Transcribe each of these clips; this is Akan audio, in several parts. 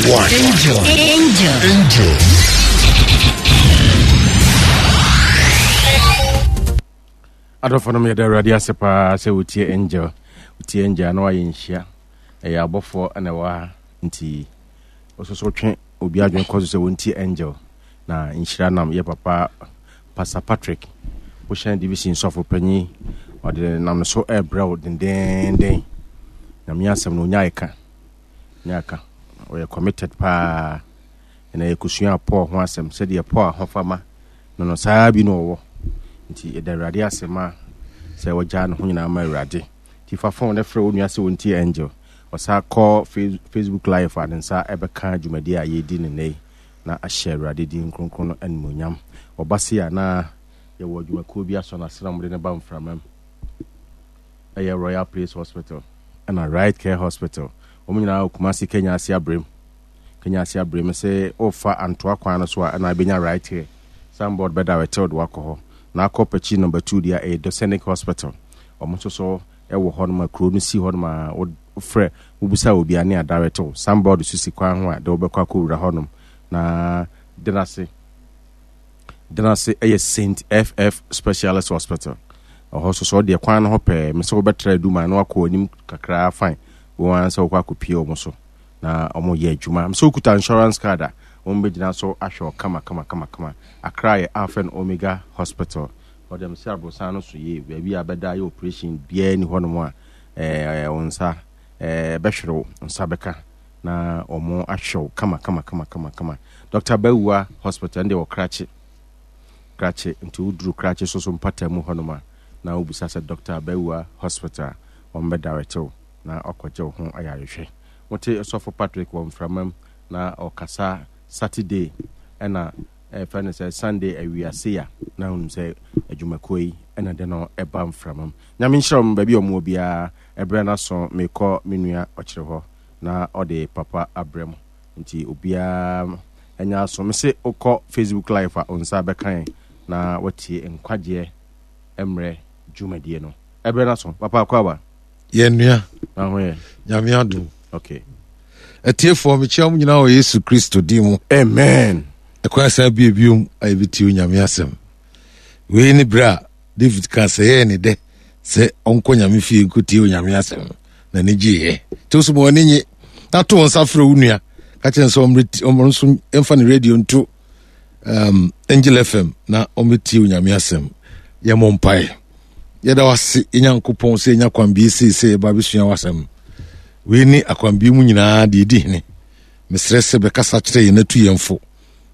1. Angel. Angel. Angel. Adɔfo nom yɛda Awurade ase paa sɛ wotie Angel. Wotie Angel na wayɛ nhyia. Ɛyɛ abɔfoɔ na ɛwɔ ha nti wososo twe obi adwene kɔ so sɛ wɔntie Angel. Na nhyira nam yɛ papa Pastor Patrick Bohyɛn Division sɔfo panyin ɔde nam no so ɛrebrɛ wo dendeenden. Nyame asɛm no onya ɛka. Onya ɛka. Ɔyɛ committed paa. Ɛna yɛkɔsua Paul ho asɛm sɛdeɛ Paul ahofama no no saa bi na ɔwɔ. Nti yɛda Awurade ase ma sɛ wɔgyaa ne ho nyinaa ma Awurade. Nti fa phone no frɛ wo nua sɛ wɔntie Angel. Ɔsa kɔ Facebook live a ne nsa ɛbɛka dwumadi a yɛredi no nnɛ yi na ahyɛ Awurade din kronkron no animuonyam. Ɔba se a na yɛwɔ adwumakuo bi asɔ n'ase na wɔde no ba mframa mu. Ɛyɛ Royal Place Hospital ɛna Right Care Hospital. Wɔn nyinaa wɔ Kumasi Kenya ase abrem. Kenya ase abrem sɛ wofa Antoa kwan no so a ɛna abɛnya Right Care. Signboard bɛda hɔ ɛtɛw de wakɔ hɔ. Na akɔ Pakyi number 2 deɛ ɛyɛ Dosenic Hospital. Wɔn nso so ɛwɔ hɔ nom a kuro no si hɔ nom a wofrɛ wobisa obi a ne adarɛtew. Signboard so si kwan ho a de wobɛkɔ akɔwura hɔ nom. Na Denase Denase ɛyɛ Saint FF Specialist Hospital. Ɛhɔ nso so ɔdeɛ kwan no ho pɛɛ mesɛ wobɛtra aduma na wakɔ anim kakraa fine. Wɔn ara sɛ wokɔ akɔpie wɔn so na wɔn yɛ adwuma. Mesɛ wokuta insurance card a wɔn bɛgyina so ahwɛ wo kama kama kama kama. Accra yɛ Alpha and Omega Hospital. Hɔ deɛ mesɛ aborosan no so yie. Baabi a bɛda yɛ operation biara ni hɔnom a ɛɛ wo nsa ɛɛ bɛhwere wo nsa bɛka na wɔn ahwɛ wo kama kama kama kama kama. Dr. Bawuah Hospital ɛno deɛ wɔ Krakye. Krakye nti woduru Krakye so so mpata mu hɔnom a na wobisa sɛ Dr. Bawuah Hospital wɔn bɛ direct wo na wakɔgye wo ho ayarehwɛ. Mote Sɔfo Patrick wɔ mframa mu na ɔkasa Saturday ɛna ɛfɛ no sɛ Sunday awiase a na wonim sɛ adwumakuo yi ɛna de no ɛba mframa mu. Nyame nhyira wɔn baabi a wɔn wɔ biara. Ɛberɛ no aso mekɔ me nua ɔkyere hɔ na ɔde papa abrɛ mo nti obiara ɛnyɛ aso. Mese wokɔ Facebook live a wo nsa bɛka yɛn na watie nkwagyeɛ mmerɛ dwumadie no. Ɛberɛ no aso. Papa akɔ aba. Yɛn nua. Na ho yɛ. Nyame adom. Okay. Atiefoɔ mekyia mo nyinaa wɔ Yesu Kristo din mu. Amen. Ɛkwan san bie biom a yɛbɛtie Onyame asɛm. Wei ne berɛ a David ka sɛ yɛyɛ ne dɛ sɛ ɔnkɔ Nyame fie nkɔtie Onyame asɛm no. N'ani gyeeɛ. Nti wo so ma w'ani nye na to wo nsa frɛ wo nua ka kyerɛ sɛ ɔmmrɛ nso mfa ne radio nto um, Angel FM na ɔmmɛtie Onyame asɛm. Yɛmmɔ mpaeɛ. Yɛda wo ase, yɛn Nyankopɔn, sɛ yɛnya kwanbie sei sɛ yɛba abɛsua w'asɛm. Wei ne akwanbie mu nyinaa deɛ ɛdi hene. Mesrɛ sɛ bɛkasa kyerɛ yɛn atu yɛn fo.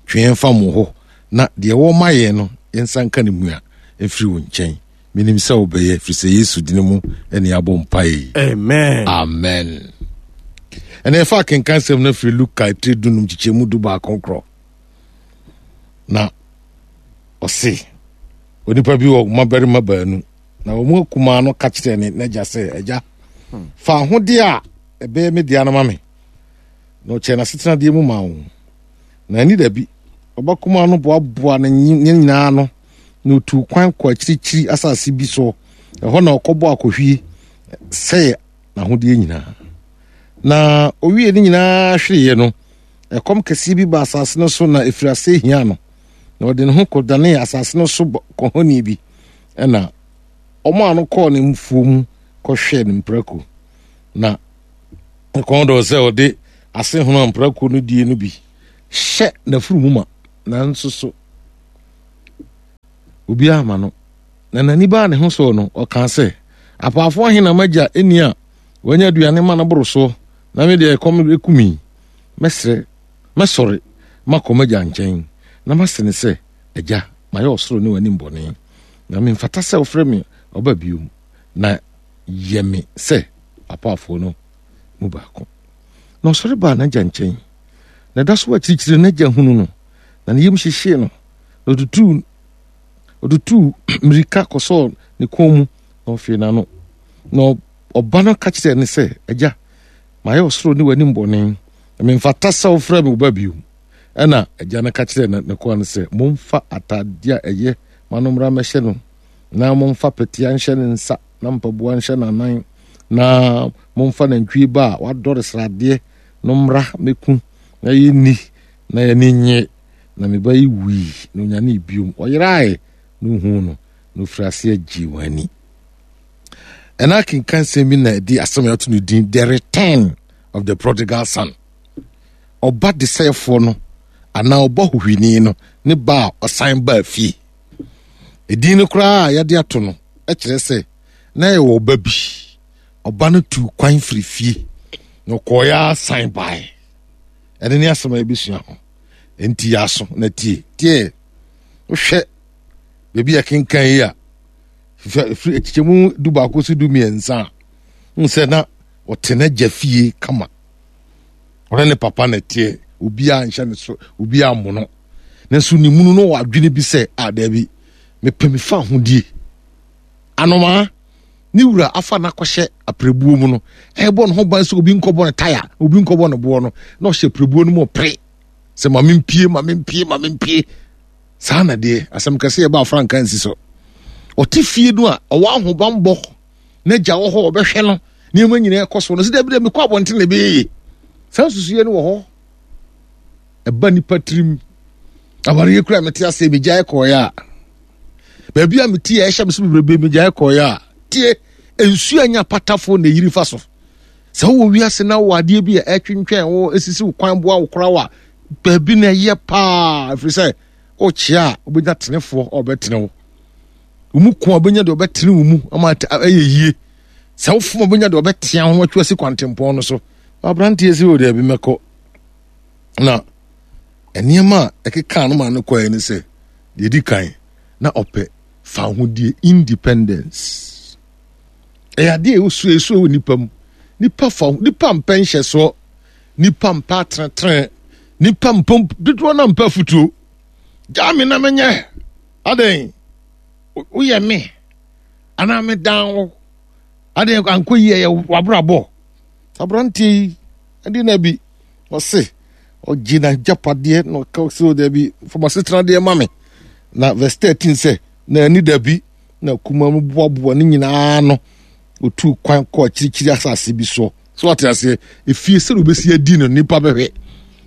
Twe yɛn fa mo hɔ na deɛ ɛwɔ ma yɛn no yɛnsa nka ne mua mfiri wo nkyɛn. Menim sɛ wobɛyɛ, firi sɛ Yesu dini mu ne yɛabɔ mpaeɛ yi. Amen. Amen. Ɛna yɛfa akenkan sɛm no firi Luka etire dunum kyekyɛmu 11 korɔ. Na ɔse, onipa bi wɔ mmabarima baanu, na wɔn mu akumaa no ka kyerɛɛ ne n'agya sɛ, Agya, fa ahodeɛ a ɛbɛyɛ me dea no ma me. Na ɔkyɛɛ n'asetenadeɛ mu maa wɔn. Na ɛne da bi, ɔba kumaa no boaboa ne nyinaa ano, na otuu kwan kɔ akyirikyiri asase bi so. Ɛhɔ na ɔkɔbɔ akɔhwie sɛe n'ahodeɛ nyinaa. Na owie ne nyinaa hwereeɛ no, ɛkɔm kɛseɛ bi baa asase no so na ɛfiri aseɛ hiaa no. Na ɔde ne ho kɔdanee asase no so kɔhɔni bi, ɛna ɔmaa no kɔɔ ne mfuo mu kɔhwɛɛ ne mprako. Na ne kɔn dɔɔ sɛ ɔde ase hono a mprako no die no bi hyɛ n'afuru mu ma, nanso so obiara ama no. Na n'ani baa ne ho soɔ no, ɔkaa sɛ, Apaafoɔ ahe na m'agya nni a wɔanya aduane ma no boro soɔ, na me deɛ ɛkɔm reku me yi? Mɛsrɛ, mɛsɔre makɔ m'agya nkyɛn, na mase no sɛ, Agya, mayɛ ɔsoro ne w'anim bɔne, na memfata sɛ wofrɛ me ɔba bio, na yɛ me sɛ w'apaafoɔ no mu baako. Na ɔsɔre baa n'agya nkyɛn, na ɛda so wɔ akyirikyiri no, n'agya hunu no, na ne yam hyehyee no, na ɔtutuu ɔtutuu mmirika kɔsɔɔ ne kɔn mu, na ɔfee n'ano. Na ɔba no ka kyerɛɛ no sɛ, Agya, mayɛ ɔsoro ne w'anim bɔne, na memfata sɛ wofrɛ me wo ba bio. Ɛnna agya no ka kyerɛɛ ne koa no sɛ, Momfa atadeɛ a ɛyɛ ma no mmra mmɛhyɛ no, na momfa pɛtea nhyɛ ne nsa, na mpaboa nhyɛ n'anan, na momfa nantwie ba a wadɔre sradeɛ no mmra mmɛku, na yɛnni na yɛne nye, na me ba yi wui na onyanee biom, ɔyerae na ohuu no, na ofiri aseɛ gyee wɔn ani. Ɛna akenkan sɛm bi na ɛde asɛm a yɛato no din The Return of the Prodigal Son. Ɔba desɛefoɔ no anaa ɔba hohwini no ne ba a ɔsan baa fie. Edin no koraa a yɛde ato no kyerɛ sɛ na yɛwɔ ɔba bi. Ɔba no tuu kwan firi fie na ɔkɔeɛ ara san baeɛ. Ɛno ne asɛm a yɛbɛsua ho. Enti yɛ aso na tie. Tie. Wohwɛ baabi a kenkan yi a, firi akyikyɛmu 11 so 13 a, wohu sɛ na ɔte n'agya fie kama. Ɔne ne papa na ɛteɛ. Obiara nhyɛ ne so, obiara mmono. Nanso ne munu no wɔ adwene bi sɛ, a daabi, mepɛ me fa ahodie. Anomaa, ne wura afa no akɔhyɛ apirebuo mu no, ɛrebɔ ne ho ban sɛ obi nkɔbɔ no taya, obi nkɔbɔ no boɔ no, na ɔhyɛ apirebuo no mu ɔpere sɛ ma mempie, ma mempie, ma mempie. Saa na deɛ asɛm kɛse yɛ ba afranka nsi so. Ɔte fie no a ɔwɔ ahobanbɔ, n'agya wɔ hɔ ɔbɛhwɛ no, nneɛma nyinaa ɛkɔ so no, sɛ dabi dɛ mekɔ abɔnten na ɛbɛyɛ yie. Saa nsusuiɛ no wɔ hɔ. Ɛba nipa tirim. Awareɛ kura mete ase megyae kɔeɛ a, baabi a mete a ɛhyɛ me so bebrebe megyae kɔeɛ a, tie, nsuo a nya patafoɔ na ɛyiri fa so. Sɛ wowɔ wiase na wowɔ adeɛ bi a ɛtwentwɛn wo, ɛsisi wo kwan boa wo koraa a, baabi na ɛyɛ paa, ɛfiri sɛ wokyea a wobɛnya tenefoɔ a ɔbɛtene wo. Wo mu ko a wobɛnya deɛ ɔbɛtene wo mu ama ɛyɛ yie. Sɛ wofom a wobɛnya deɛ ɔbɛtea ho atwa asi kwantempɔn no so. Aberanteɛ si wɔ daabi mɛkɔ. Na nneɛma a ɛkekaa no maa no kɔɛ ne sɛ, deɛ ɛdi kan, na ɔpɛ fawohodie, independence. Ɛyɛ adeɛ a ɛwɔ ɛsuo wɔ nipa mu. Nipa fa nipa mpɛ nhyɛsoɔ, nipa mpɛ atenetene, nipa mpɛ dodoɔ na mpɛ afutuo. Gyaa me na menyɛ adɛn woyɛ me anaa medan wo adɛn ankɔ yie ɛyɛ wabrabɔ. Aberanteɛ yi ɛde na bi ɔse ɔgye n'agyapadeɛ na ɔka sɛ o dabi fa m'asetenadeɛ ma me na verse 13 sɛ na ani dabi na kuma mu boaboa ne nyinaa ano otuu kwan kɔ akyirikyiri asase bi soɔ so ate aseɛ efie sɛ obɛsi adi no nipa bɛhwɛ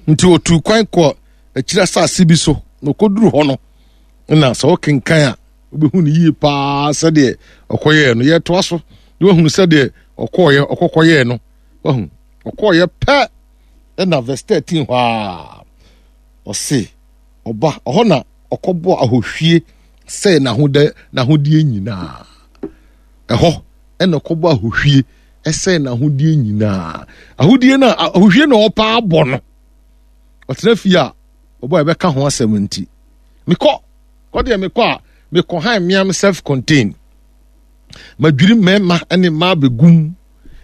nti otuu kwan kɔ akyiri asase bi so na ɔkɔduru hɔ no na sɛ ɔkenkan a wobɛhu no yie paa sɛdeɛ ɔkɔyɛɛ no yɛtoa so na wahunu sɛdeɛ ɔkɔɔyɛ ɔkɔkɔyɛɛ no wahu ɔkɔɔyɛ pɛ ɛna verse 13 hɔ a ɔse ɔba ɔhɔ na ɔkɔbɔ ahohwie sɛ n'ahodɛ n'ahodeɛ nyinaa ɛhɔ ɛna ɔkɔbɔ ahohwie ɛsɛ n'ahodeɛ nyinaa ahodeɛ no a ahohwie na ɔpaa abɔ no ɔtena fie a ɔbɔ a ɛbɛka ho asɛm nti mekɔ kɔ deɛ mekɔ a mekɔ han mmea me self contain madwiri mmarima ne mmaa bɛgum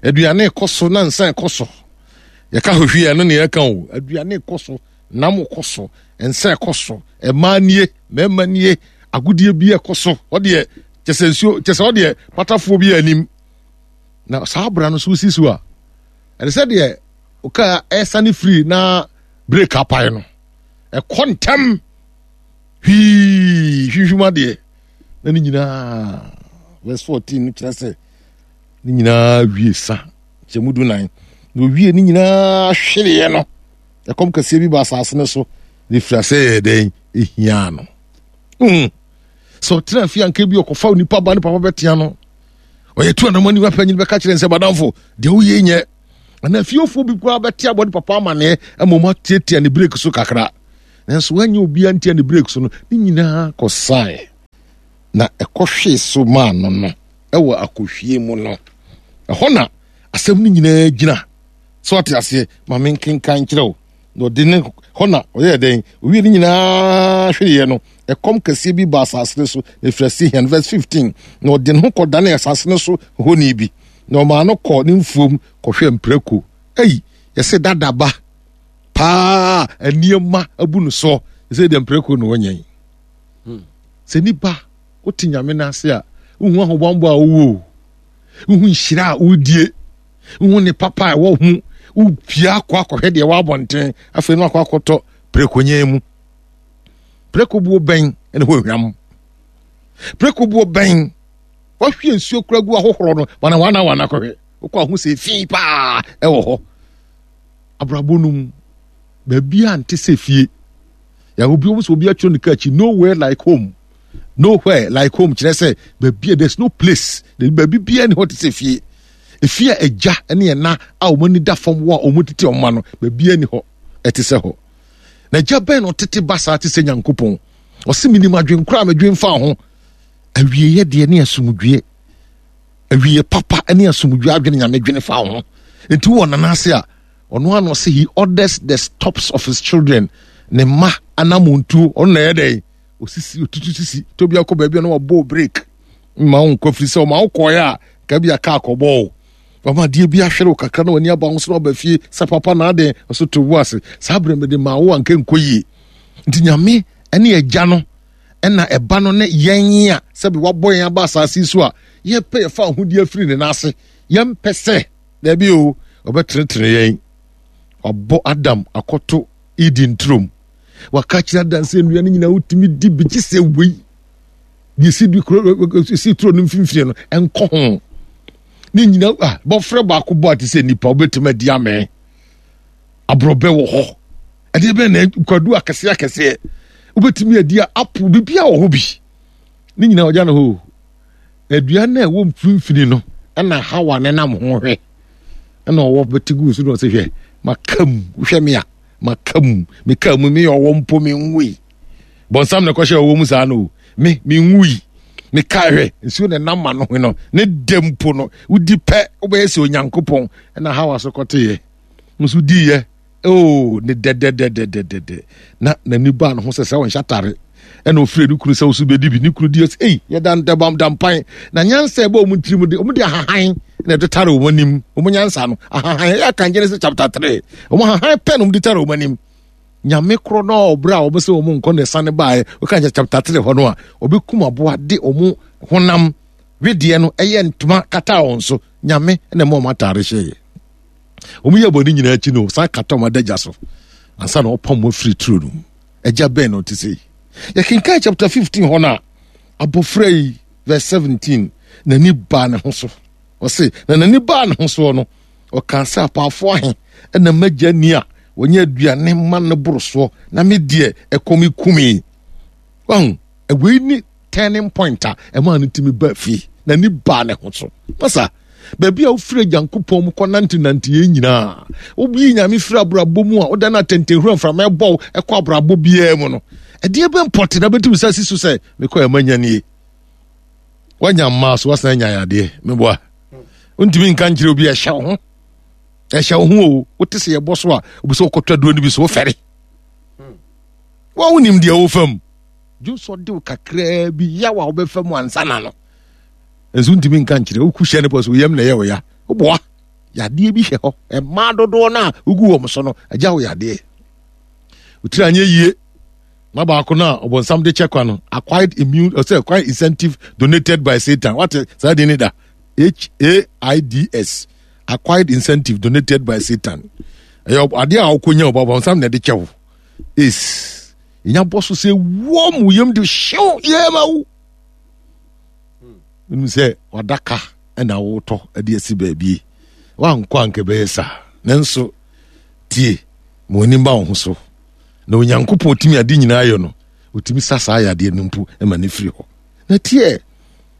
aduane kɔ so na nsa kɔ so yɛka hohwie ɛno ne yɛka o aduane kɔ so nam kɔ so nsa kɔ so mmaa nie mmarima nie agodie bi ɛkɔ so ɔdeɛ kyɛ sɛ nsuo kyɛ sɛ ɔdeɛ patafoɔ bi anim na saa abira no so si so a ɛne sɛ deɛ ɔka ɛsane firi na break apae no ɛkɔ ntɛm hwii hwihwim adeɛ na ne nyinaa verse 14 no kyerɛ sɛ ne nyinaa wie sa kyɛ mu 14 na owie ne nyinaa hwereɛ no ɛkɔm kɛseɛ bi ba asase no so na ɛfiri asɛ yɛ dɛn ɛhia no sɛ ɔtena fie anka bi ɔkɔfa onipa ba ne papa bɛtea no ɔyɛ tu anamɔ nipa panyin bɛka kyerɛ nsɛ badamfo deɛ woyɛ nyɛ anaa fiefoɔ bi koraa bɛte abɔ ne papa amaneɛ ama ɔmo atiatia ne break so kakra nanso wanyɛ obiara ntia ne break so no ne nyinaa kɔsae na ɛkɔhwee so maa no no ɛwɔ akɔhwie mu no ɛhɔ na asɛm no nyinaa gyina sɛ ɔte aseɛ ma menkenkan nkyerɛ wo na ɔde ne hɔ na ɔyɛɛ dɛn owie ne nyinaa hwereɛ no ɛkɔm kɛseɛ bi ba asase no so na ɛfiri ase hian verse 15 na ɔde ne ho kɔdane asase no so hɔni bi na ɔmaa no kɔ ne mfuom kɔhwɛ mprako ei yɛsɛ dadaba paa nneɛma abu no soɔ sɛ deɛ mprako na ɔnyɛ yi sɛ nipa wote nyame no ase a wohu ahobammɔ a wowɔ o wohu nhyira a wodie wohu ne papa a ɛwɔ ho wopia akɔ akɔhwɛ deɛ ɛwɔ abɔnten afei no akɔ akɔtɔ prɛkonyɛn mu prɛko buo bɛn ɛne hɔ ehwam prɛko buo bɛn wahwie nsuo kura gu ahohorɔ no wana wana wana kɔhwɛ wokɔ aho sɛ efi paa ɛwɔ hɔ abrabɔ no mu. Baabi a nte sɛ fie. Yɛ obi wɔn sɛ obi atwerɛ ne kaa akyi nowhere like home. Nowhere like home kyerɛ sɛ baabi a there's no place. Baabi biara ni hɔ te sɛ fie. Efie a agya ne ɛna a wɔn ani da fam wɔ a wɔn tete wɔn ma no baabi ani hɔ ɛte sɛ hɔ. Na agya bɛn na ɔtete ba saa te sɛ Nyankopɔn. Ɔse menim adwenkora a medwen fa ho. Awieɛ deɛ ne asomdwie. Awieɛ papa ne asomdwie adwene Nyame dwene fa ho. Nti wɔ nana ase a ɔno ano ɔse he orders the stops of his children. Ne mma anamontuo ɔno na ɛyɛ dɛn osisi otutu sisi tobi akɔ baabi a na wabɔ break mma wo nkɔ firi sɛ ɔma wo kɔɛ a nka bi aka akɔbɔ o wama adeɛ bi ahwere wo kakra na w'ani aba ho so na waba fie sɛ papa na aden ɔso to wo ase saa berɛ mede maa wo anka nkɔ yie nti nyame ne agya no ɛna ɛba no ne yɛn a sɛbi wabɔ yɛn aba asase so a yɛpɛ yɛfa ahodie afiri ne nan ase yɛmpɛ sɛ daabi o ɔbɛtenetene yɛn wabɔ adam akɔto eden turom waka kyerɛ adam sɛ nnua no nyinaa wotumi di bi gye sɛ wei deɛ si du kuro si turo no mfimfini no ɛnkɔ ho ne nyina a bɔfrɛ baako bɔ a te sɛ nipa wobɛtumi adi amee aborɔbɛ wɔ hɔ ɛdeɛ bɛn na kwadu akɛseɛ akɛseɛ wobɛtumi adi a apo biribi a wɔ hɔ bi ne nyina ɔgya no hɔ adua no a ɛwɔ mfimfini no ɛna hawa ne nam ho hwɛ ɛna ɔwɔ bɛte gu so na ɔsɛ hwɛ maka mu wohwɛ me a maka mu meka mu meyɛ ɔwɔ mpo menwui bɔnsam na ɛkɔhyɛ ɔwɔ mu saa no me menwui meka hwɛ nsuo na ɛnam ma no ho no ne dɛ mpo no wodi pɛ wobɛyɛ sɛ onyankopɔn ɛna hawa so kɔteyɛ nso diiɛ oo ne dɛdɛdɛdɛdɛdɛ na n'ani baa ne ho sɛ sɛ ɔnhyɛ atare ɛna ofiri ne kunu sɛ ɔso bɛdi bi ne kunu di ɔsɛ ei yɛda ndɛbam dampan na nyansa ɛbɔ wɔn tirim de wɔn de ahahan na ɛde tare wɔn anim wɔn nyansa no ahahan ɛyɛ akan Genesis chapter 3 wɔn ahahan pɛ na wɔn de tare wɔn anim nyame korɔ no a ɔbrɛ a wɔn sɛ wɔn nkɔ na ɛsane baeɛ wɔka kyɛ chapter 3 hɔ no a ɔbɛkum aboa de wɔn honam wedeɛ no ɛyɛ ntoma kata wɔn so nyame na ɛma wɔn atare hyɛeɛ wɔn yɛ bɔne nyinaa akyi no san kata wɔn adagya so ansa na ɔpam wɔn afiri turo no mu agya bɛn na ɔte sɛ yi yɛkenkan chapter 15 hɔ no a abɔfra yi verse 17 n'ani baa ne ho so ɔse na n'ani baa ne ho soɔ no ɔkaa sɛ apaafo ahe ɛna m'agya ni a wɔnyɛ aduane ma no boro soɔ na me deɛ ɛkɔm kumi wahu wei ne turning point a ɛmaa no tumi baa fie n'ani baa ne ho so masa baabi a wofiri agyankopɔn mu kɔnantenante yɛn nyinaa woyi nyame firi abrabɔ mu a woda no atɛntɛnhura mframa ɛbɔ wo ɛkɔ abrabɔ biara mu no ɛdeɛ bɛ mpɔte na bɛtumi sɛ si so sɛ mekɔ ɛma nya nie woanya mmaa so woasan anya yadeɛ meboa wontumi nka nkyerɛ obi ɛhyɛ wo ho ɛhyɛ wo ho o wote sɛ yɛbɔ so a obi sɛ wokɔtɔ aduro no bi so wofɛre wa wonim deɛ wofa mu dwonsɔ de wo kakraa bi yaw a wobɛfa mu ansa na no nso ntumi nka nkyerɛ woku hyɛ no pɔ so yam na ɛyɛ wo ya woboa yadeɛ bi hyɛ hɔ ɛmaa dodoɔ no a wogu wɔn so no agya wo yadeɛ wotiri anyɛ yie na baako no a ɔbɔnsam de kyɛ kwa no acquired immune ɔsɛ acquired incentive donated by satan wate saa din ne da h a i d s acquired incentive donated by satan ɛyɛ adeɛ a wokɔnya ɔbɔnsam na ɛde kyɛ wo is nya bɔ so sɛ wɔm wo yam de hyew yɛma wo wonim sɛ wadaka ɛna wotɔ de asi baabi wankɔ anka bɛyɛ saa nanso tie ma w'anim ba wo ho so na onyankopɔn tumi ade nyinaa yɛ no ɔtumi sa saa yadeɛ no mpo ma ne firi hɔ na tie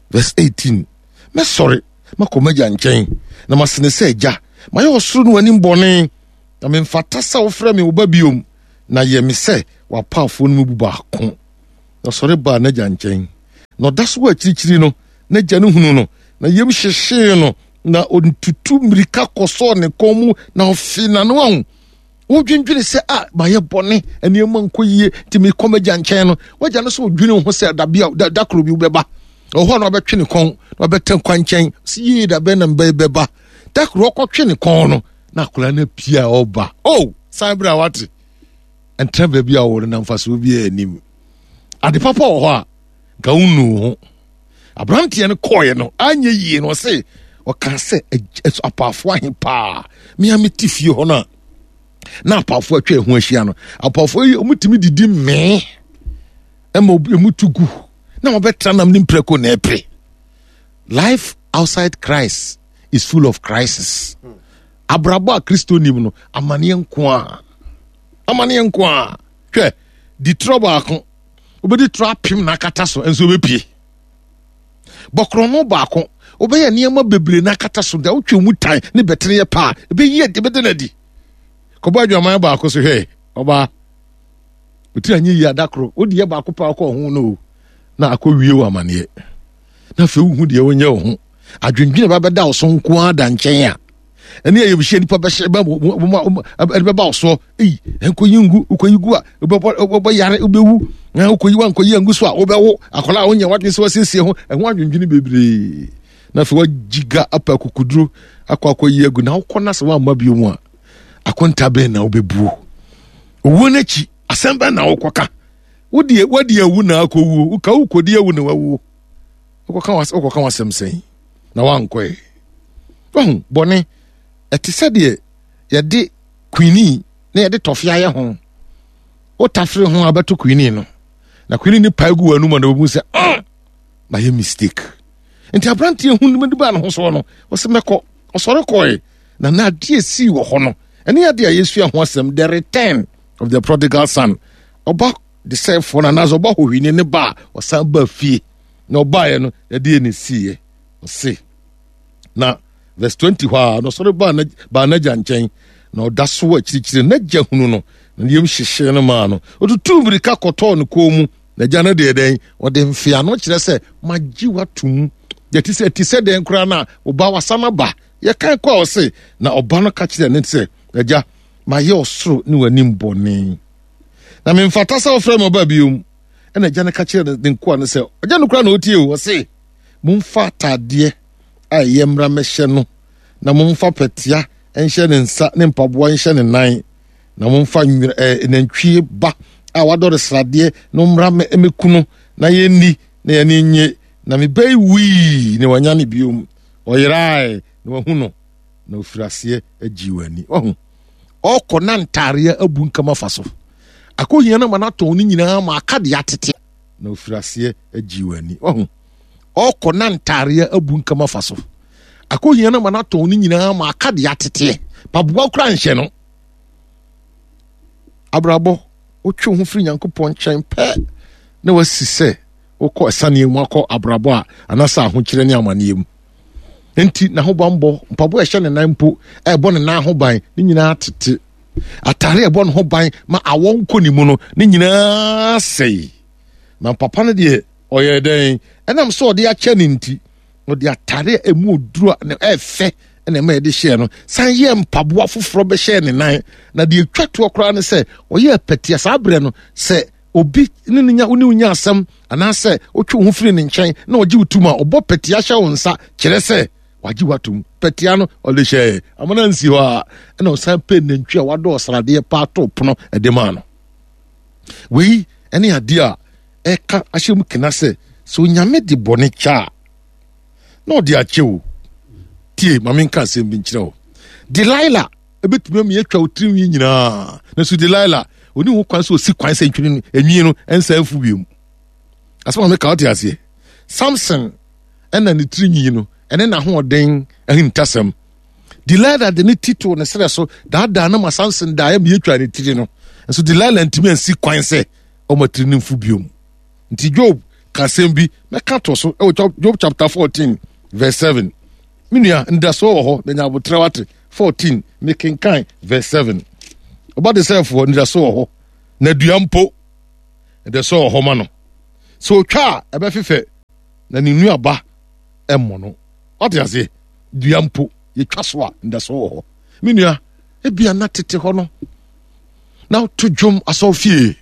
verse 18 mɛsɔre makɔ m'agya nkyɛn na masene sɛ agya mayɛ ɔsoro no w'anim bɔne Na memfata sɛ wofrɛ me wo ba biom, na yɛ me sɛ w'apaafoɔ no mu bu baako. Na ɔsɔre baa n'agya nkyɛn. Na ɔda so wɔ akyirikyiri no, n'agya no hunu no, na yam hyehyee no, na ɔtutu mmirika kɔsɔɔ ne kɔn mu, na ɔfee n'ano ahu. Wodwendwene sɛ, a mayɛ bɔne, nneɛma nkɔ yie, nti mekɔ m'agya nkyɛn no. W'agya no sɛ ɔdwene wo ho sɛ da bi a da koro bi wobɛba. Ɔwɔ hɔ a na wabɛtwe ne kɔn, na wabɛtɛ kwankyɛn, sɛ yie da bɛn na mbɛba. Da koro ɔkɔtwe ne kɔn no, na akwadaa no apue a ɔba oh san berɛ a wate ɛntena baabi a wɔwɔ no na mfasoɔ biara anim ade papa wɔ hɔ a nka wonu ho aberanteɛ no kɔɔeɛ no anyɛ yie no ɔse ɔka sɛ apaafoɔ ahe paa mea mete fie hɔ no a na apaafoɔ atwa ɛho ahyia no apaafoɔ yi wɔtumi didi mmee ɛma ɛmu tu gu na wɔbɛtra nam ne mprako na ɛpere life outside Christ is full of crisis. Abrabɔ a Kristo nim no, amaneɛ nko a. Amaneɛ nko a. Hwɛ, di torɔ baako, wobɛdi torɔ apem na akata so, nso wobɛpie. Bɔkorɔno baako, wobɛyɛ nneɛma bebree na akata so, da wotwe mu tan ne bɛtene yɛ paa, ɛbɛyi adi, ɛbɛda no adi. Kɔbɔ adwaman baako so hwɛ, ɔbaa. Wotiri anyɛ yie adakoro, wodi yɛ baako paa kɔ ho no na akɔ wie wɔ amaneɛ. Na afei wohu deɛ wonyɛ wo ho. Adwendwene ba bɛda wo so nko ara da nkyɛn a, ɛne ayamhyia nipa bɛhyɛ bɛ ɛde bɛba wo soɔ. Eyi, nkɔyi ngu, wokɔyi gu a, wobɛbɔ yare, wobɛwu. Na wokɔyi wankɔyi angu so a, wobɛwo. Akwadaa a wonyɛ wadwene sɛ wasiesie ho, ɛho adwendwene bebree. Na afei wagyiga apɛ akokuduro akɔ akɔyi agu. Na wokɔ na sɛ woamma bio mu a, akonta bɛn na wobɛbuo? Owuo no akyi, asɛm bɛn na wokɔka? Wodeɛ wadi awu na akɔwuo, woka wokɔdi awu na wawuo. Wokɔka w'asɛm sɛn na wankɔɛ? Wahu bɔne, ɛte sɛ deɛ yɛde kwini na yɛde tɔfe ayɛ ho. Wotafere ho a bɛto kwini no, na kwini no pae gu w'anum a na wɔbu sɛ ah, mayɛ mistake. Nti aberanteɛ hu no baa ne ho soɔ no, ɔsɛ mɛkɔ. Ɔsɔre kɔe, na na adeɛ sii wɔ hɔ no, ɛne adeɛ a yɛsua ho asɛm, the return of the prodigal son. Ɔba desɛefoɔ no anaasɛ ɔba hohwini ne ba a ɔsan ba fie na ɔbaeɛ no, ɛdeɛ ne siiɛ. Ɔse, na verse 20 hɔ a, na ɔsɔre baa n'agya nkyɛn, na ɔda so wɔ akyirikyiri. N'agya hunu no, na ne yam hyehyee no maa no. Ɔtutuu mmirika kɔtɔɔ ne kɔn mu. N'agya no deɛ dɛn? Ɔde mfeano kyerɛ sɛ, magye w'atom. Deɛ ti sɛ, ti sɛ dɛn koraa na ɔba wasan aba. Yɛkan kɔ a ɔse, na ɔba no ka kyerɛ ne sɛ, agya, mayɛ ɔsoro ne w'anim bɔne. Na memfata sɛ wofrɛ me ɔba biom. Ɛna agya no ka kyerɛ ne nkoa no sɛ, agya no koraa na ɔtie o, ɔse, momfa ataadeɛ a ɛyɛ mmra mmɛhyɛ no, na momfa pɛtea nhyɛ ne nsa ne mpaboa nhyɛ ne nan, na momfa nwera ɛɛ nantwie ba a wadɔre sradeɛ no mmra mmɛku no, na yɛnni na yɛn ani nnye. Na me ba yi wui na wanya ne biom, ɔyerae na wahu no, na ofiri aseɛ agyi wɔn ani. Wahu, ɔkɔ na ntaareɛ abu nkama fa so. Akɔhia no ma no atɔn ne nyinaa ma aka deɛ atete. Na ofiri aseɛ agyi wɔn ani. Wahu, ɔkɔ na ntaareɛ abu nkama fa so. Akɔhia no ma no atɔn ne nyinaa ma aka deɛ ateteɛ. Paboa kora nhyɛ no. Abrabɔ, wotwe wo ho firi Nyankopɔn nkyɛn pɛ na wasi sɛ wokɔ asiane mu akɔ abrabɔ a anaasɛ ahokyerɛ ne amanneɛ mu. Nti n'ahobanbɔ, mpaboa a ɛhyɛ ne nan mpo a ɛbɔ ne nan ho ban ne nyinaa tete. Atare a ɛbɔ ne ho ban ma awɔ nkɔ ne mu no ne nyinaa sɛe. Na papa no deɛ ɔyɛ dɛn? Ɛnam sɛ ɔde akyɛ ne nti, ɔde atare a ɛmu oduro a ɛfɛ na ɛma yɛde hyɛɛ no san yɛɛ mpaboa foforɔ bɛhyɛɛ ne nan. Na deɛ ɛtwa toɔ koraa ne sɛ ɔyɛɛ pɛtea. Saa berɛ no sɛ obi ne ne nya wo ne wo nya asɛm anaasɛ wotwe wo ho firi ne nkyɛn na ɔgye wo tum a, ɔbɔ pɛtea hyɛ wo nsa kyerɛ sɛ wagye w'atom. Pɛtea no ɔde hyɛɛ amana nsi hɔ a, ɛna ɔsan pɛ nantwi a wadɔ ɔsradeɛ paa too pono ɛde maa no. Wei ɛne adeɛ a ɛka ahyɛ mu kena sɛ sɛ Onyame de bɔne kyɛ a na ɔde akyɛ o. Tie, ma menka asɛm bi nkyerɛ wo. Delilah ebetumi ama yɛatwa wo tirinwi nyinaa, nanso Delilah ɔni ho kwan sɛ ɔsi kwan sɛ ntwene no enwi no nsa afu bio. Asɛm a meka wote aseɛ? Samson ɛna ne tirinwi no ɛne n'ahoɔden ahintasɛm. Delilah de ne ti too ne serɛ so daadaa no ma Samson daeɛ ma yɛtwa ne tiri no, nso Delilah ntumi ansi kwan sɛ ɔma tiri no mfu bio. Nti Job ka asɛm bi mɛka to so ɛwɔ Job chapter 14 verse 7. Me nua, ndasoɔ wɔ hɔ na nya abotrɛ wate. 14 mekenkan verse 7. Ɔba de sɛfoɔ ndasoɔ wɔ hɔ na dua mpo ndasoɔ wɔ hɔ ma no. Sɛ otwa a ɛbɛfefɛ na ne nnuaba ɛmmɔ no. Wate aseɛ? Dua mpo yɛtwa so a ndasoɔ wɔ hɔ. Me nua, ebia na tete hɔ no na woto dwom asɔrefie,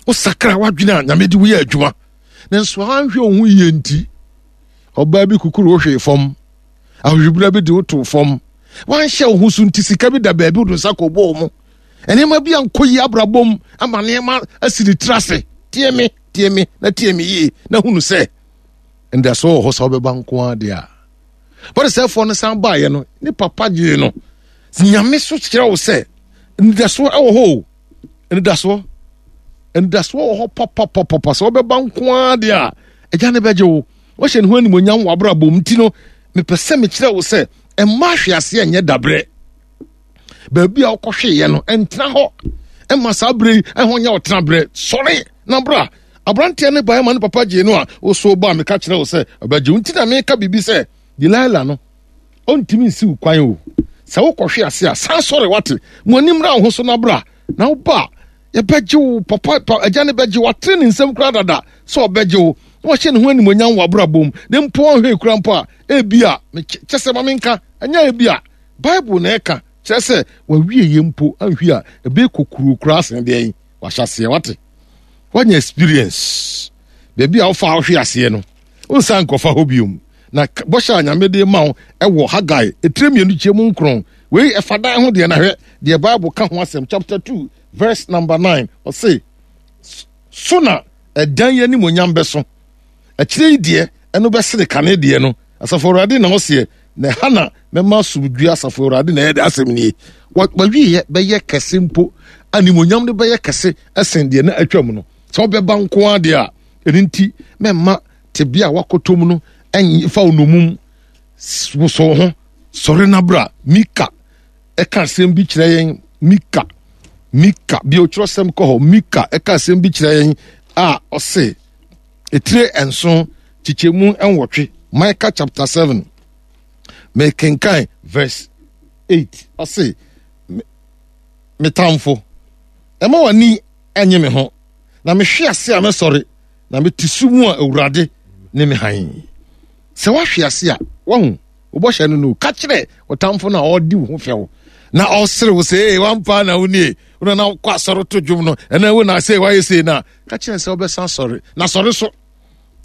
wosakra w'adwene a Nyame de woyɛ adwuma, nanso anhwɛ wo ho yie nti ɔbaa bi kukuru wo hwee fam, ahohwibra bi de wo too fam, wanhyɛ wo ho so nti sika bi da baabi wode nsa kɔbɔɔ mu, nneɛma bi ankɔ yie abrabɔ mu ama nneɛma asi ne tiri ase. Tie me, tie me na tie me yie na hunu sɛ ndasoɔ wɔ hɔ sɛ wobɛba nko ara deɛ a. Bɔdesɛefoɔ no san baeɛ no, ne papa gyee no. Nyame so kyerɛ wo sɛ anidasoɔ wɔ hɔ o. Anidasoɔ. Anidasoɔ wɔ hɔ papapapapa sɛ wobɛba nko ara deɛ a, agya no bɛgye wo. Wahyɛ ne ho animuonyam wɔ abrabɔ mu nti no, mepɛ sɛ mekyerɛ wo sɛ mma ahweaseɛ nyɛ dabrɛ. Baabi a wokɔhweeɛ no, ɛntena hɔ. Ɛma saa berɛ yi ɛho nyɛ ɔtena berɛ. Sɔre na bra. Aberanteɛ no baeɛ ma ne papa gyee no a, woso ba a meka kyerɛ wo sɛ ɔbɛgye wo. Nti na meka biribi sɛ Delilah no, ɔntumi nsi wo kwan o. Sɛ wokɔhwe ase a, san sɔre wate. Mo ani mmra wo ho so na bra. Na woba a, yɛbɛgye wo papa pa, agya no bɛgye wo. Watene ne nsam koraa dada sɛ ɔbɛgye wo. Na wahyɛ ne ho animuonyam wɔ abrabɔ mu. Na mpo ɔnhwɛ kura mpo a, ebi a, kyɛ sɛ ma menka, ɛnyɛ ebi a, Bible na ɛka, kyerɛ sɛ wawie yɛ mpo anhwi a, ɛbɛyɛ kokuroo koraa sen deɛn wahyɛ aseɛ wate. Wanya experience. Baabi a wofa wohwe aseɛ no, wonsan nkɔfa hɔ biom. Na bɔhyɛ a Nyame de ma wo ɛwɔ Hagai etire mmienu kyɛ mu nkron. Wei ɛfa dan ho deɛ na hwɛ deɛ Bible ka ho asɛm chapter 2 verse number 9 ɔse so na ɛdan yi animonyam bɛso akyire yi deɛ ɛno bɛsene kane deɛ no asafo awurade na ɔseɛ na ɛha na mɛma asomdwie asafo awurade na ɛde asɛm nie wawieɛ bɛyɛ kɛse mpo animonyam no bɛyɛ kɛse ɛsen deɛ na atwam no sɛ wobɛba nko ara deɛ a ɛno nti mɛma tebea a wakɔtɔ mu no ɛmfa wo nomum wosɔ ho sɔre na bra mika ɛka asɛm bi kyerɛ yɛn mika mika bi otwerɛsɛm kɔ hɔ mika ɛka asɛm bi kyerɛ yɛn a ɔse etire nson kyekyɛmu nwɔtwe micah chapter 7 mekenkan verse 8 ɔse me tamfo ɛma w'ani nye me ho na mehwe ase a mɛsɔre na mete su mu a awurade ne me hann sɛ woahwe ase a wahu wobɔhyɛ no no ka kyerɛ ɔtamfo no a ɔdi wo ho fɛw na ɔsere wo sɛ ee wampa na wo nie wona na wokɔ asɔre to dwom no ɛna wo na sɛ woayɛ sei no a ka kyerɛ sɛ wobɛsan sɔre na sɔre so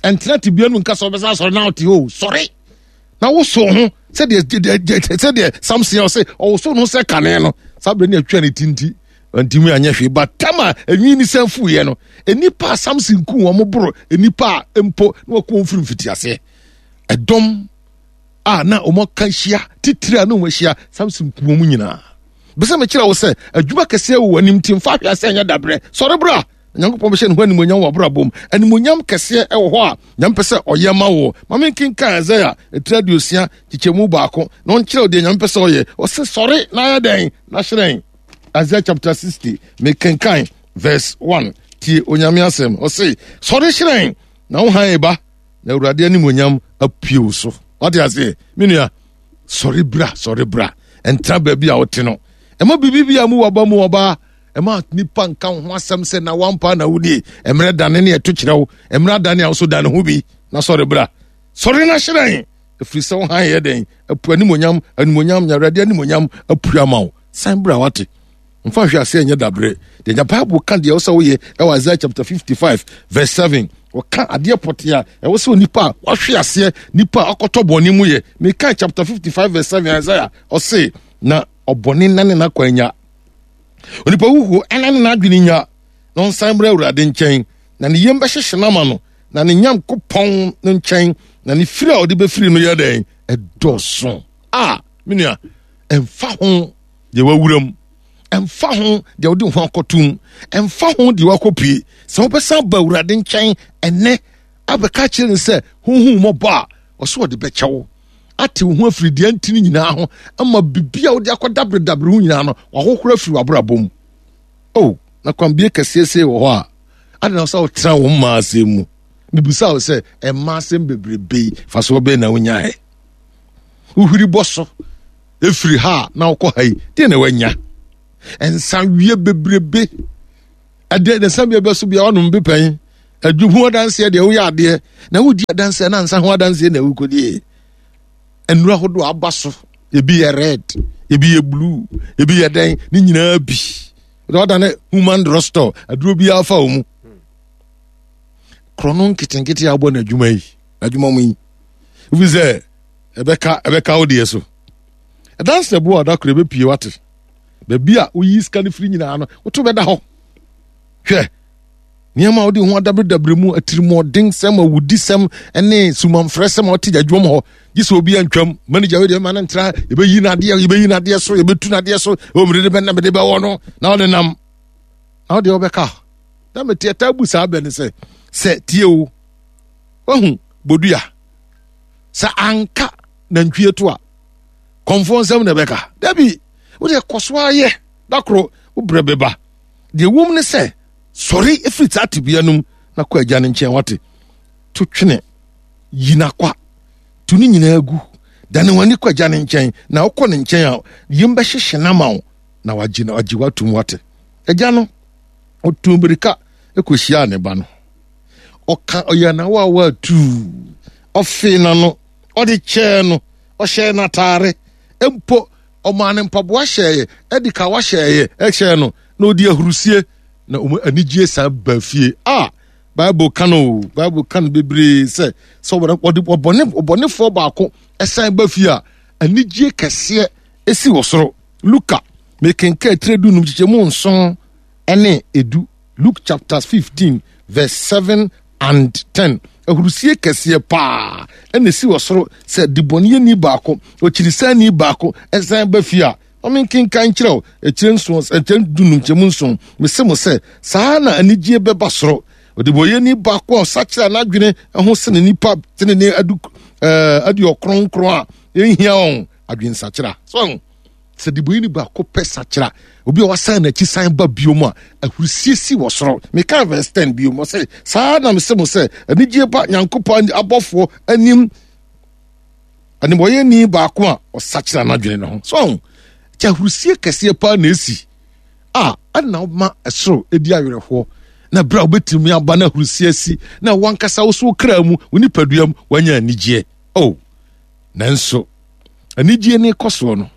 ɛntena tebea no nka sɛ wobɛsan sɔre na wote hɔ sɔre na woso ho sɛdeɛ sɛdeɛ samson a ɔsɛ ɔwoso no sɛ kane no saa berɛ ne atwa ne ti nti ntumi anyɛ hwee ba tam a enwi ne san fuiɛ no nnipa a samson ku wɔn boro nnipa a mpo na wɔku wɔn firi mfitiaseɛ ɛdɔm a na wɔn aka ahyia titiri a na wɔn ahyia samson ku wɔn nyinaa bɛsɛ mekyerɛ wo sɛ adwuma kɛseɛ wɔ w'anim nti mfa ahwɛ asɛ nyɛ dabrɛ sɔre bra nyankopɔn bɛhyɛ ne ho animonyam wɔ abrabɔ mu animonyam kɛseɛ ɛwɔ hɔ a nyame pɛ sɛ ɔyɛ ma wo ma menkenkan Isaiah ɛtiri aduosia kyekyɛmu baako na ɔnkyerɛ wo deɛ nyame pɛ sɛ ɔyɛ ɔse sɔre na ayɛ dɛn na hyerɛn Isaiah chapter 60 mekenkan verse 1 tie onyame asɛm ɔse sɔre hyerɛn na wo hann ba na awurade animonyam apue wo so wate aseɛ me nua sɔre bra sɔre bra ɛntra baabi a wote no ɛma biribi bi a mu waba mu ɔbaa ɛma nipa nka wo ho asɛm sɛ na wampa na wodie mmerɛ dane ne ɛto kyerɛ wo mmerɛ adane a wo so dane ho bi na sɔre bra sɔre na hyerɛn ɛfiri sɛ wo hann yɛ dɛn apu animonyam animonyam nya awurade animonyam apue ama wo san bra wate mfa hwɛ aseɛ nyɛ dabrɛ deɛ nya bible ka deɛ ɛwɔ sɛ woyɛ ɛwɔ Isaiah chapter 55 verse 7 wɔka adeɛ pɔtee a ɛwɔ sɛ onipa a wahwe aseɛ nipa a ɔkɔtɔ bɔne mu yɛ meka chapter 55 verse 7 Isaiah ɔse na ɔbɔne nane n'akwan nya onipa huhuo ɛna ne n'adwene nya na ɔnsan mmra awurade nkyɛn na ne yam bɛhyehye no ama no na ne nyankopɔn no nkyɛn na ne firi a ɔde bɛfiri no yɛ dɛn ɛdɔɔso a me nua ɛmfa ho deɛ wawura mu ɛmfa ho deɛ wode ho akɔtom ɛmfa ho deɛ wakɔpue sɛ wobɛsan ba awurade nkyɛn ɛnɛ abɛka kyerɛ no sɛ honhom mmɔbɔ a ɔsɛ ɔde bɛkyɛ wo ate wo ho afiri deɛ ntini nyinaa ho ama biribi a wode akɔdaberedabere ho nyinaa no wahohoro afiri w'abrabɔ mu o na kwambie kɛseɛ sei wɔ hɔ a ade na sɛ wotena wo mmaa asɛm mu mebisa wo sɛ ɛmma asɛm bebrebe yi fa so bɛn na wonyaɛ wohwiri bɔ so ɛfiri ha a na wokɔ ha yi deɛ na wanya nsa wie bebrebe ɛdeɛ ne nsa bia bɛso bia wanom bi pɛn adwu ho adanseɛ deɛ woyɛ adeɛ na wodi adanseɛ na nsa ho adanseɛ na wokɔdie nnuro ahodoɔ aba so ebi yɛ red ebi yɛ blue ebi yɛ dɛn ne nyinaa bi na ɔda ne human drugstore aduro biara fa wɔ mu korɔno nketenkete a wobɔ n'adwuma yi n'adwuma mu yi ebi sɛ ɛbɛka ɛbɛka wo deɛ so ɛdansi ɛbo a ɔda koro ebepie wate baabi a woyi sika no firi nyinaa no woto bɛda hɔ hwɛ nneɛma a wode ho adaberedabere mu atirimuɔdensɛm awudisɛm ne sumanfrɛsɛm a ɔte adwuma mu hɔ gye sɛ obi antwam manager wei deɛ ma no ntra yɛbɛyi n'adeɛ yɛbɛyi n'adeɛ so yɛbɛtu n'adeɛ so ɛwɔ mede de bɛna mede bɛwɔ no na ɔde nam na ɔdeɛ wobɛka na mete ɛtaa bu saa bɛ no sɛ sɛ tie o wahu bodua sɛ anka nantwie to a kɔmfoɔ nsɛm na ɛbɛka dabi wode kɔ so ayɛ da koro wobrɛ bɛba. Deɛ ɛwom ne sɛ, sɔre firi saa tebea no mu na kɔ agya no nkyɛn wate. To twene, yi n'akwa, tu ne nyinaa gu. Dane w'ani kɔ agya no nkyɛn, na wokɔ ne nkyɛn a, yam bɛhyehye no ama wo na wagye na wagye w'atom wate. Agya no, ɔtuu mmirika kɔhyiaa ne ba no. Ɔka ɔyɛ n'awaawa atuu, ɔfee n'ano, ɔde kyɛɛ no, ɔhyɛɛ n'ataare, mpo ɔmaa no mpaboa hyɛeɛ, ɛde kawa hyɛeɛ, ɛhyɛɛ no, na ɔdi ahurusie, na wɔn anigyeɛ san ba fie. A Bible ka no o, Bible ka no bebree sɛ sɛ wɔde ɔbɔne ɔbɔnefoɔ baako ɛsan ba fie a, anigyeɛ kɛseɛ esi wɔ soro. Luka, mekenkan tire dunum kyekyɛmu nson ne edu. Luke chapter 15 verse 7 and 10. Ahurusie kɛseɛ paa ɛna esi wɔ soro sɛ debɔneyɛni baako, okyirisani baako ɛsan ba fie a. Ma menkenkan nkyerɛ wo akyire nson, akyire dunum nkyɛmu nson. Mese mo sɛ, saa na anigyeɛ bɛba soro. Ɔdebɔneyɛni baako a ɔsakyera n'adwene ho sene nnipa tenenee adu ɛɛ aduɔkron a ɛnhia wɔn adwensakyera. So sɛ debɔneyɛni baako pɛ sakyera, obi a wasan n'akyi san ba bio mu a, ahurisie si wɔ soro. Meka verse 10 bio mu sɛ, saa na mese mo sɛ, anigyeɛ ba Nyankopɔn abɔfoɔ anim Nnebɔneyɛni baako a ɔsakyera n'adwene no ho. So ahu? Kyɛ ahurusie kɛseɛ paa na esi a ɛna ɔma ɛsoro edi awerɛhoɔ na berɛ a wobɛtumi aba na ahurusie asi na wankasa wo so wo kra mu wo nipadua mu wanya anigyeɛ. Oh, nanso anigyeɛ ne kɔ soɔ no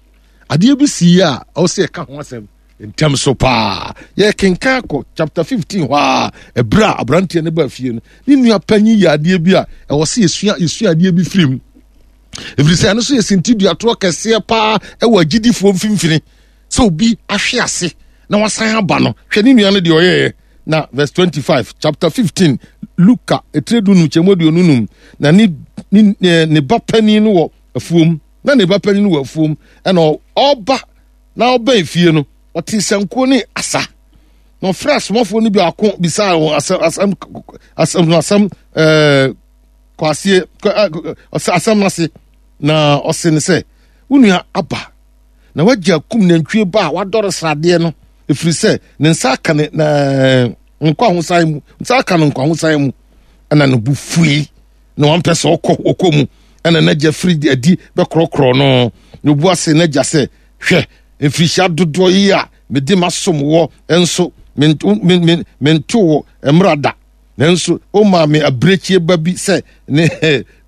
adeɛ bi sii a ɛwɔ sɛ yɛka ho asɛm ntɛm so paa. Yɛkenkan kɔ chapter 15 hɔ a, ɛberɛ a aberanteɛ no baa fie no, ne nua panyin yɛ adeɛ bi a ɛwɔ sɛ yɛsua yɛsua adeɛ bi firi mu. Ɛfiri sɛ ɛno nso yɛ sintiduatoɔ kɛseɛ paa ɛwɔ agyidifoɔ mfimfini sɛ obi ahwe ase na wasan aba no. Hwɛ ne nua no deɛ ɔyɛeɛ na verse 25 chapter 15 Luka etire dunum kyɛmu aduonu num na ne ne ne ba panin no wɔ afuom na ne ba panin no wɔ afuom ɛna ɔba na ɔbɛn fie no, ɔtee sankuo ne asa. Na ɔfrɛ asomafoɔ no biako bisaa wɔn asɛm asɛm asɛm no asɛm ɛɛ kwasie asɛm no ase. Na ɔse no sɛ, wo nua aba na wagya akum nantwie ba a wadɔre sradeɛ no, ɛfiri sɛ ne nsa aka ne na nkwahosan mu nsa aka no nkwahosan mu. Ɛna ne bo fui na wampɛ sɛ ɔkɔ ɔkɔ mu. Ɛna n'agya firi adi bɛkorɔkorɔ no, na obu ase n'agya sɛ, hwɛ, mfirihyia dodoɔ yi a mede masom wɔ nso mento wɔ mmara da, nanso womaa me abirekyie ba bi sɛ ne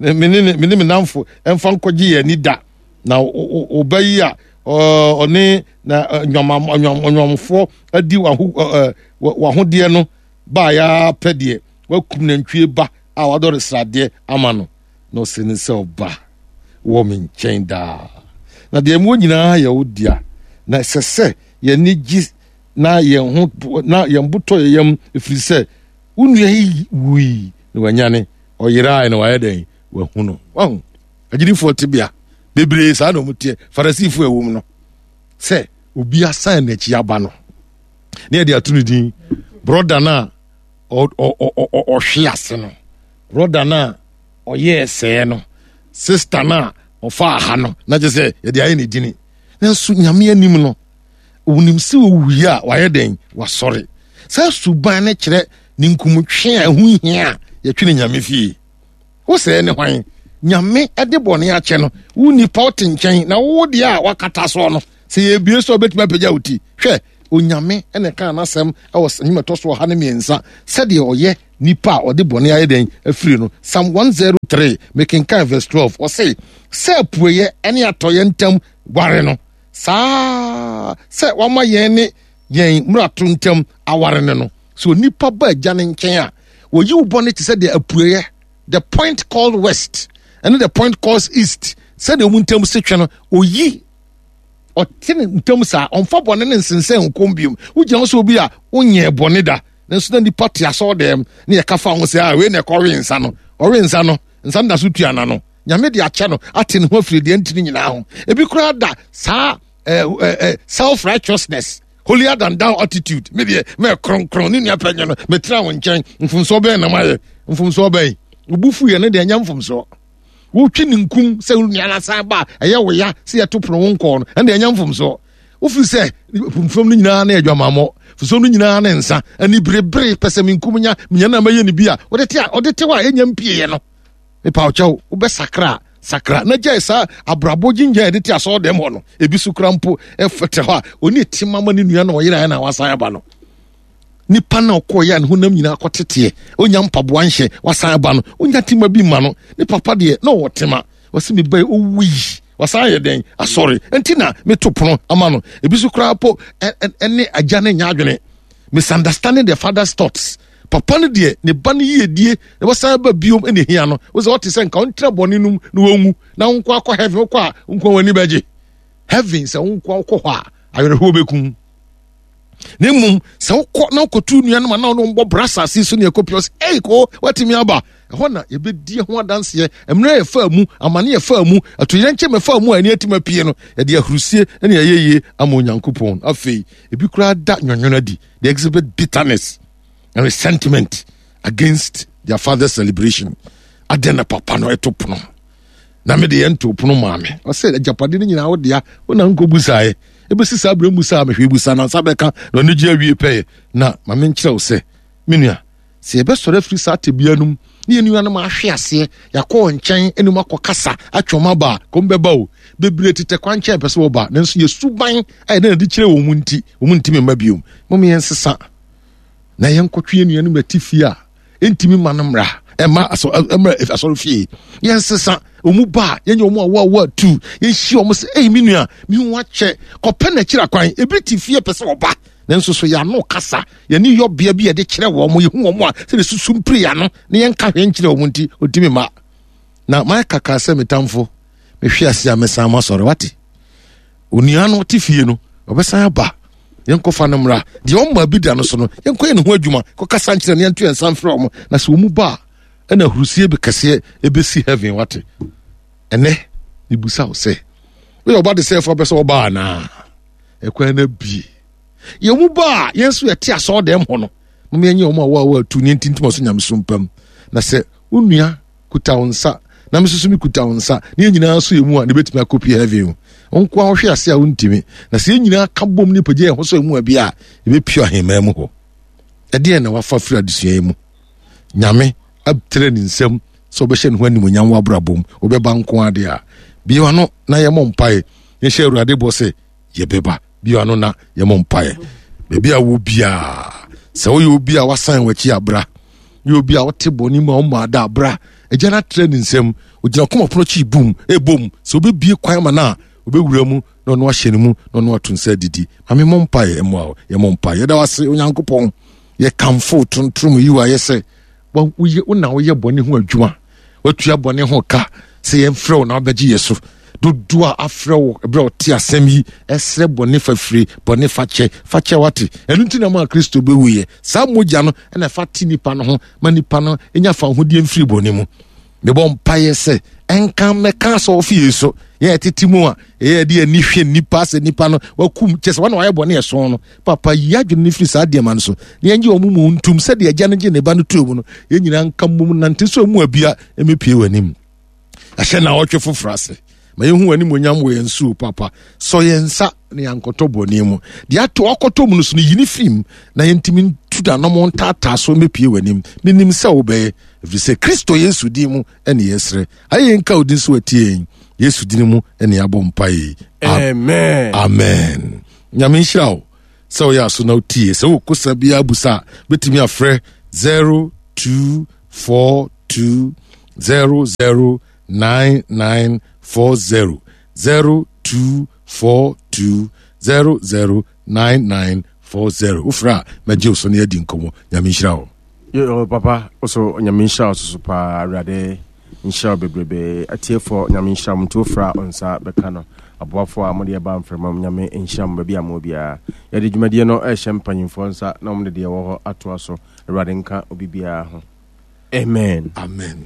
me ne me ne me namfo mfa nkɔgye yɛn ani da. Na wo ba yi a ɔne na nnwamfoɔ adi w'ahodeɛ no baeɛ ara pɛ deɛ, wakum nantwie ba a wadɔre sradeɛ ama no. Na ɔse ne sɛ, ɔba wɔ me nkyɛn daa, na deɛ mewɔ nyinaa yɛ wo dea, na ɛsɛ sɛ yɛn ani gye na yɛn ho na yɛn bo tɔ yɛn yam, ɛfiri sɛ wo nua yi wui na wanyane, ɔyerae na wayɛ dɛn, wahu no. Wahu agyidifoɔ tebea bebree saa na wɔn teɛ. Farisifoɔ a ɛwɔ mu no, sɛ obi asan n'akyi aba no, ne yɛde ato ne din brɔda no a ɔhwe ase no, brɔda no a ɔyɛɛ sɛɛ no, sista no a ɔfaa ha no, na kyerɛ sɛ yɛde ayɛ ne dini. Nanso Nyame anim no, onim sɛ owui a wayɛ dɛn, wasɔre. Saa suban no kyerɛ ne nkumtwe a ɛho hia a yɛtwe ne Nyame fie. Wo sɛɛ ne hwan? Nyame de bɔne akyɛ no, wo nipa wote nkyɛn na wo deɛ a wakata soɔ no, sɛ yɛbie so a wobɛtumi apagya wo ti. Hwɛ, Onyame na ɛkaa n'asɛm wɔ nnwom ɛtɔ so 103 sɛdeɛ ɔyɛ nipa a ɔde bɔne ayɛ dɛn afiri no. Psalm 103, mekenkan verse 12, ɔse, sɛ apueɛ ne atɔeɛ ntam ware no, saa sɛ wama yɛn ne yɛn mmarato ntam aware no no. Sɛ onipa ba agya no nkyɛn a, wɔyi wo bɔne te sɛ deɛ apueɛ, the point called west, ɛne the point called east, sɛdeɛ wɔn ntam se twɛ no, oyi ɔte ne ntam saa, ɔmfa bɔne ne nsensɛn nkɔm biom. Wogyina hɔ sɛ obi a wonyɛɛ bɔne da, nanso na nipa te asɔɔdɛm ne yɛka fa ho sɛ, ah, wei na ɛkɔwe nsa no, ɔwe nsa no, nsa no da so tua n'ano. Nyame de akyɛ no, ate ne ho afiri deɛ ntini nyinaa ho. Ebi koraa da saa eh, eh, eh, self righteousness, holier than thou attitude. Me deɛ mɛ kronkron ne nua pɛnyɛ no, metena wo nkyɛn, mfomsoɔ bɛn na mayɛ? Mfomsoɔ bɛn? Obu fu yɛ no deɛ ɛnyɛ mfomsoɔ. Wotwe ne nkum sɛ wo nua no asan ba a, ɛyɛ wo ya sɛ yɛto pono wo nkɔɔ no, ɛnde ɛnyɛ mfomsoɔ. Wofiri sɛ mfom no nyinaa ne adwamammɔ. Firi sɛ ɔno nyinaa ne nsa. Aniberebere, pɛsɛmenkominya, menya no a mɛyɛ no bi a, ɔde te a, ɔde te hɔ a ɛnya mpieeɛ no. Mepa wo kyɛw, wobɛsakra a, sakra na gyae saa abrabɔ gyingya a yɛde te asɔre dɛm hɔ no. Ebi so kora mpo ɛfɛtɛ hɔ a, ɔni tema ma ne nua na ɔyeraeɛ na wasan aba no. Nipa na ɔkɔɔyɛ a ne honam nyinaa kɔteteɛ, ɔnya mpaboa nhyɛ, wasan aba no, ɔnya tema bi ma no. Ne papa deɛ, na ɔwɔ tema. Ɔse me ba yi, ɔwui, wasan ayɛ dɛn? Asɔre. Nti na meto pono ama no. Ebi so koraa po ɛne agya no nyɛ adwene. Misunderstanding the father's thoughts. Papa no deɛ, ne ba no yiedie na wasan aba biom na ehia no. Wo sɛ ɔte sɛ nka ɔntra bɔne no mu na wɔnwu na wo nko akɔ heaven, wokɔ a wo nko w'ani bɛgye. Heaven sɛ wo nko wokɔ hɔ a awerɛhoɔ bɛkum. Na mmom sɛ wokɔ na wokɔtu nuanom anaa ɔne wɔn bɔ bra asase so ne ɛkɔ pii ɔsɛ ei ko watumi aba ɛhɔ na yɛbɛdi ho adanseɛ mmerɛ yɛfaa mu amane yɛfaa mu atoyerɛnkyɛm yɛfaa mu a ɛne atumi apue no yɛde ahurusie ne ayɛyie ama Onyankopɔn. Afei ebi koraa da nwonwono adi, they exhibit bitterness and resentment against their father's celebration. Adɛn na papa no ɛto pono na me deɛ nto pono maa me? Ɔsɛ agyapade no nyinaa wo dea, wo na nkɔ busaeɛ. Ɛbɛsi saa berɛ mu saa mehwɛ busa na nsa bɛka na ɔno gye awie pɛyɛ. Na ma menkyerɛ wo sɛ me nua, sɛ yɛbɛsɔre afiri saa tebea no mu ne yɛn nuanom ahwe aseɛ, yɛakɔ wɔn nkyɛn ne mu akɔkasa atwe wɔn aba a, kɔm bɛba o. Bebree tetɛ kwan nkyɛn pɛ sɛ wɔba, nanso yɛ suban a yɛde na de kyerɛ wɔn mu nti, wɔn ntumi mma biom. Mom yɛnsesa na yɛnkɔtwe yɛn nuanom ati fie a ɛntumi ma no mmra ɛma asɔ ɛmra asɔre fie. Yɛnsesa wɔn mu ba a, yɛnyɛ wɔn awo awo atu, yɛnhyia wɔn sɛ, ei me nua, me ho akyɛ, kɔpɛ n'akyiri akwan. Ebi te fie pɛ sɛ ɔba, nanso so yɛn ano kasa, yɛne yɔbea bi yɛde kyerɛ wɔn, yɛhu wɔn a sɛde susu mpiri yɛn ano na yɛnka hwee nkyerɛ wɔn nti, ɔntumi mma. Na mayɛ kaka sɛ me tamfo, mehwe ase a mɛsan masɔre, wate? Onua no te fie no, ɔbɛsan aba. Yɛnkɔfa no mmra. Deɛ ɔmma bi da no so no, yɛnkɔyɛ ne ho adwuma, kɔkasa nkyerɛ no, yɛnto yɛn nsa mfrɛ wɔn. Na sɛ wɔn mu ba a, ɛna ahurusie bi kɛseɛ ɛbɛsi heaven, wate? Ɛnɛ, mebusa wo sɛ, woyɛ ɔba de sɛ ɛfo apɛ sɛ ɔba anaa? Ɛkwan no abie. Yɛn mu ba a, yɛn nso yɛte asɔɔdɛm hɔ no, mom yɛnyɛ wɔn a wɔawo atu ne ntintim ɔso nyamesom pam. Na sɛ wo nua kuta wo nsa na me nso mekuta wo nsa na yɛn nyinaa nso yɛ mu a, na ebɛtumi akɔpie heaven o. Wo nko a wohwe ase a wontumi. Na sɛ yɛn nyinaa ka bom ne pagya yɛn ho sɛ mu a bi a, yɛbɛpie ahemman mu hɔ. Ɛdeɛn na wafa firi adesua yi mu? Nyame atrɛ ne nsam sɛ wobɛhyɛ ne ho animuonyam wɔ abrabɔ mu, wobɛba nko adeɛ a. Bue w'ano na yɛmmɔ mpaeɛ. Yɛnhyɛ Awurade bɔ sɛ yɛbɛba. Bue w'ano na yɛmmɔ mpaeɛ. Baabi a wɔ biara, sɛ woyɛ obi a wasan w'akyi abra, woyɛ obi a wote bɔne mu a woma ada abra, agya no atrɛ ne nsam, ogyina kɔma pono akyi bum, ɛbom, sɛ wobɛbie kwan ma no a, wobɛwura mu na ɔno ahyɛ ne mu na ɔno ato nsa adidi. Ma me mmɔ mpaeɛ mmoa wo. Yɛmmɔ mpaeɛ. Yɛda wo ase Onyankopɔn. Yɛkamfo tontrom yi wo ayɛ sɛ woyɛ wo na woyɛ bɔne ho adwuma. Watua bɔne ho ka sɛ yɛmfrɛ wo na wabɛgye yɛ so. Dodoɔ a afrɛ wo berɛ a ɔte asɛm yi ɛsrɛ bɔne fafire, bɔne fakyɛ, fakyɛ wate. Ɛno nti na maa Kristo bɛwuiɛ. Saa mogya no ɛna ɛfa te nipa no ho ma nipa no nya fawohodie mfiri bɔne mu. Mebɔ mpaeɛ sɛ ɛnka mmɛka asɔrefie so yɛn ɛtete mu a ɛyɛ de ani hwɛ nipa sɛ nipa no wakum kyɛ sɛ wɔn na wɔayɛ bɔne ɛso no. Papa yi adwene no firi saa deɛma no so na yɛngye wɔn mu ntum sɛdeɛ agya no gye ne ba no tuo mu no. Yɛn nyinaa nka mmom nante so mu abia mmepie wɔ anim. Ahyɛ na ɔtwe foforɔ ase ma yɛhu w'animuonyam wɔ yɛn so papa. Sɔ yɛn nsa na yɛankɔtɔ bɔne mu. Deɛ ato akɔtɔ mu no so no, yi ne firi mu na yɛntumi ntu danom ntaataa so mmepie w'anim. Menim sɛ wobɛyɛ, ɛfiri sɛ Kristo Yesu din mu ɛne yɛsrɛ. Ayɛ yɛn ka wo din so atie yɛn. Yesu din mu ɛne yɛabɔ mpae. Amen. Amen. Nyame nhyira wo sɛ woyɛ aso na wotie. Sɛ wɔ kosa biara busa a, bɛtumi afrɛ 0242 009940, 0242 009940. Wofrɛ a mɛgye wo so na yɛadi nkɔmmɔ. Nyame nhyira wo. Yo, papa, also Nyame nhyira wo soso paa. Awurade nhyira wo bebrebe. Atiefoɔ, Nyame nhyira mo. Nti wofrɛ a nsa bɛka no. Aboafoɔ a mode ɛba mframa mu, Nyame nhyira mo baabi a mowɔ biara. Yɛde dwumadie no ɛrehyɛ mpanyimfoɔ nsa na wɔn de deɛ ɛwɔ hɔ atoa so. Awurade nka obi biara ho. Amen. Amen.